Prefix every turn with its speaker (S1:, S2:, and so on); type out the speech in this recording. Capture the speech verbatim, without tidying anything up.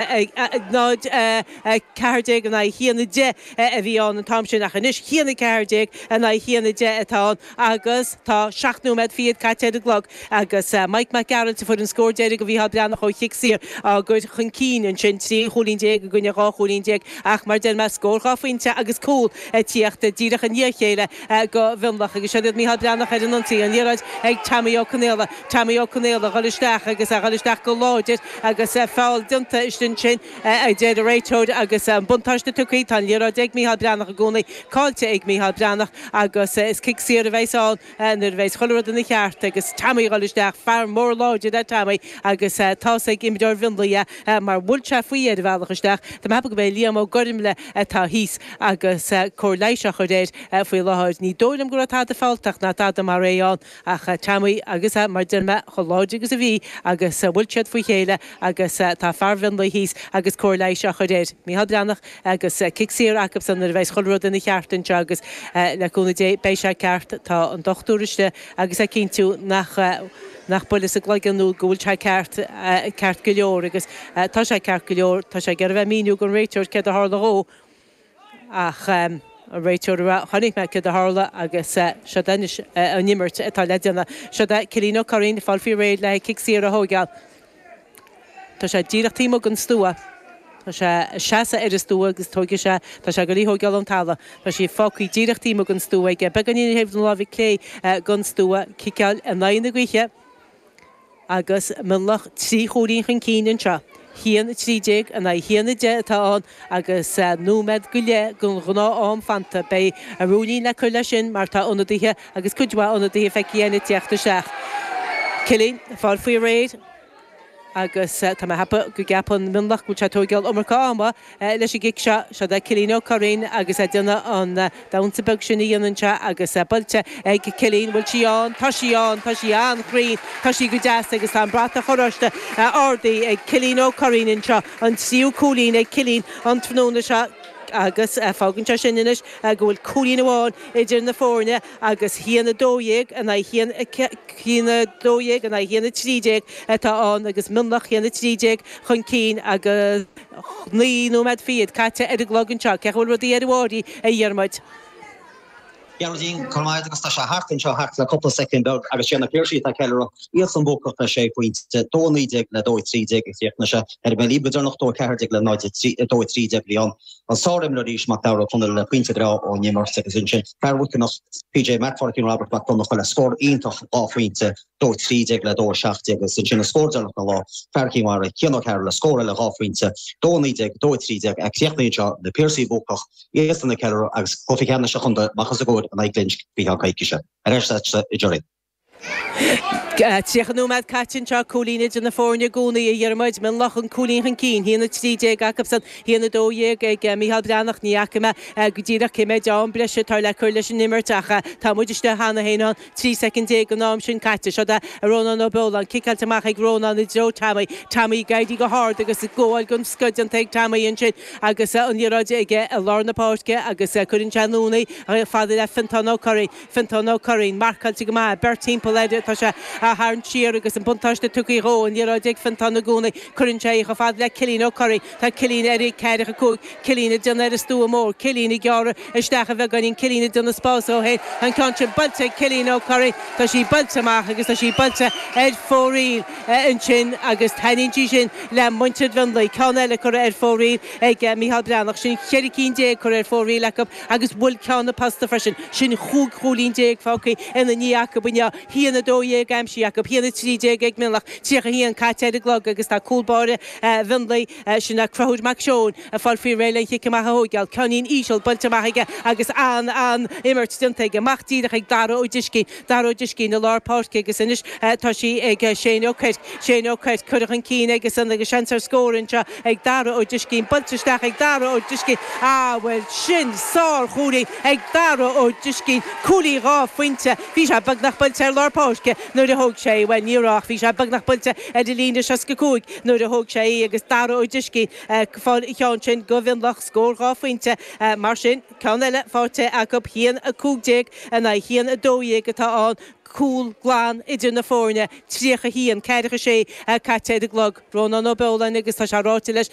S1: náid a ceathair déag in aghaidh haon a deich a bhí ann an t-am sin ach anois haon a ceathair déag in aghaidh haon a deich atá ann agus tá seacht nóiméad fichead caite ar an gclog agus Mike Mac Gearailt a fuair an scór deiridh do Mhícheál Breathnach ó chic saor á gcur chun cinn ansin trí chúilín déag i gcoinne dhá chúilín déag ach mar deir mé scór dhá phointe agus cúl ag tíocht díreach i ndiaidh a chéile do Mhionlach agus seo iad Mícheál Breathnach ar an ionsaí an liathróid ag Tommy Ó Conaola Tommy Ó Conaola dhul isteach agus a dhul isteach go láidir agus feall déanta ansin a deir an réiteoir agus an buntáiste tugtha tá an liathróid ag Mícheál Breathnach i gcónaí caillte ag Mícheál Breathnach agus is cic saor a bheas ann nuair a bheas chuile rud ina cheart agus Tommy dhul isteach fear mór láidir é Tommy agus tá's ag imreoir Mhionlaigh é mar bhuail sé faoi ar a bhealach isteach. Tá mé ag ceapadh go b'é Liam Ó Gormlaith atá thíos agus cóir leighis á chur air faoi láthair. Ní dóigh liom go raibh tada fealltach ná tada mar é ann ach Tommy agus mar deir mé chomh láidir agus a bhí agus bhuail siad faoi chéile agus tá fear Mhionlaigh thíos agus cóir leighis á chur air. Mícheál Breathnach agus cic saor acusan nuair a bheas chuile rud ina cheart anseo agus le cúnamh Dé beidh sé ceart tá an dochtúir istigh agus ag cinntiú nach nach buille sa gcloigeann nó go bhfuil sé ceart ceart go leor agus tá sé ceart go leor tá sé ag iarraidh bheith míniú don réiteoir céard a tharla dhó ach an réiteoir a chonaic mé céard a tharla agus seo anois an imirt atá le déanamh. Seo é Cillian Ó Curraoin fáil faoi réir le cic saor a thógáil. Tá sé díreach taobh amuigh den stua. Tá sé seasamh ar an stua agus tógfaidh sé tá sé ag goil í thógáil ón talamh. Tá sí fágtha díreach taobh amuigh den stua aige beagáinín ar thaobh na láimhe clé den stua ciceáil in aghaidh na gaoithe agus Mionlach trí chúilín chun cinn anseo. Haon a trí déag in aghaidh haon a deich atá ann agus nóiméad go leith den ghnáth-am fanta. Beidh a ruainnín le cur leis sin mar tá ionadaithe agus cuid mhaith ionadaithe feicthe ag teacht isteach. Cillian fáil faoi réir agus tá mé ag ceapadh go gceapann Mionlach go bhfuil sé ag tógáil iomarca ama leis an gcic seo seo é Cillian Ó Curraoin agus é ag déanamh an damhsa beag sin a dhéanann sé agus buailte ag Cillian bhfuil sí ann tá sí ann tá sí an-chruinn tá sí go deas agus tá an bratach oráiste ardaithe ag Cillian Ó Curraoin anseo an tríú cúilín ag Cillian an tráthnóna seo agus fágann sé sin anois go bhfuil cúilín amháin idir na foirne agus haon a dó dhéag in aghaidh haon haon a dó dhéag in aghaidh haon a trí déag atá ann agus Mionlach haon a trí déag chun cinn agus naoi nóiméad fichead caite ar an gclog anseo cén chaoi a bhfuil rudaí ar an bhFáirí a Dhiarmuid.
S2: Gearóidín Cormáid agus tá sé thart anseo thart le cúpla soicind beag agus sé na Piarsaigh atá ag ceiliúradh iadsan buacach le sé phointe dó naoi déag le dó trí déag ag chríochnaigh sé ar an bhí go deireanach dó ceathair déag le náid dó trí déag bhí an an sárimreoir arís Mac Dara Conall le pointe breá ón imirt agus ansin fear Mhuiceanach PJ MacFarkin Robert Mac Donncha le scór iontach dhá phointe dó trí déag le dó seacht déag agus ansin an scór deireanach na lá fear Cinn Mhara Cian Ó Cearúil le scór eile dhá phointe dó naoi déag dó trí déag a chríochnaíonn seo na Piarsaigh buacach iadsan ag ceiliúradh agus cluiche ceannais an chontae amach os a gcomhair in aghaidh Glinsk faoi cheann coicíse. Ar ais i Jerry.
S1: Tríocha nóiméad caite anseo cúilín idir na foirne i gcónaí a Dhiarmuid Mionlach an cúilín chun cinn haon a trí déag acusan haon a dó dhéag ag Mícheál Breathnach ní fhaca mé go díreach cé mhéad am breise atá le cur leis an imirt ach tá muid istigh cheana féin ann trí soicind déag an am sin caite seo é Rónán Ó Beoláin ciceáilte amach ag Rónán i dtreo Tommy Tommy ag éirí go hard agus gabháil den scoth déanta ag Tommy ansin agus an liathróid aige i lár na páirce agus cuireann sé anonn í fada le Fintán Ó Curraoin Fintán Ó Curraoin marcáilte go maith beirt timpeall air tá sé a tharraingt siar agus an buntáiste tugtha dhó an liathróid ag Fintán i gcónaí cuireann sé í chomh fada le Cillian Ó Curraoin tá Cillian ar ceathracha cúig Cillian ag déanamh ar an stua mór Cillian ag gearradh isteach a bheagáinín Cillian ag déanamh spás dó féin an ceann sin buailte ag Cillian Ó Curraoin tá sí buailte amach agus tá sí buailte ar fóraoil ansin agus taitníonn sí sin le muintir Mhionlaigh ceann eile curtha ar fóraoil ag Mícheál Breathnach sin ceithre cinn déag curtha ar fóraoil acu agus bhfuil ceann na posta freisin sin chúig chúilín déag fágtha ina ndiaidh acu inniu haon a dó dhéag aimsithe acu haon a trí déag ag Mionlach tríocha haon caite ar an gclog agus tá cúl báire Mhionlaigh sin é Conchúr Mac Seoin ag fáil faoi réir le cic amach a thógáil ceainnín íseal buailte amach aige agus an an imirt déanta aige amach díreach ag Dara Ó Discín Dara Ó Discín i lár páirce agus anois tá sí ag Shane Ó Cuirc Shane Ó Cuirc curtha chun cinn agus an agus seans ar scór anseo ag Dara Ó Discín buailte isteach ag Dara Ó Discín á bhfuil sin sárchúilín ag Dara Ó Discín cúilín dhá phointe bhí sé beagnach buailte ar lár lár páirce nuair a thóg sé í, bhuel ní raibh ach bhí sé beagnach buailte ar an líne seasca cúig nuair a thóg sé í agus Dara Ó Driscín ag fáil an cheann sin do Mhionlach, scór dhá phointe mar sin, ceann eile faighte acu, haon a cúig déag in aghaidh haon a dó dhéag atá ann, cúl glan idir na foirne, tríocha haon, ceathracha sé caite ar an gclog. Rónán Ó Beoláin agus tá sé ráite leis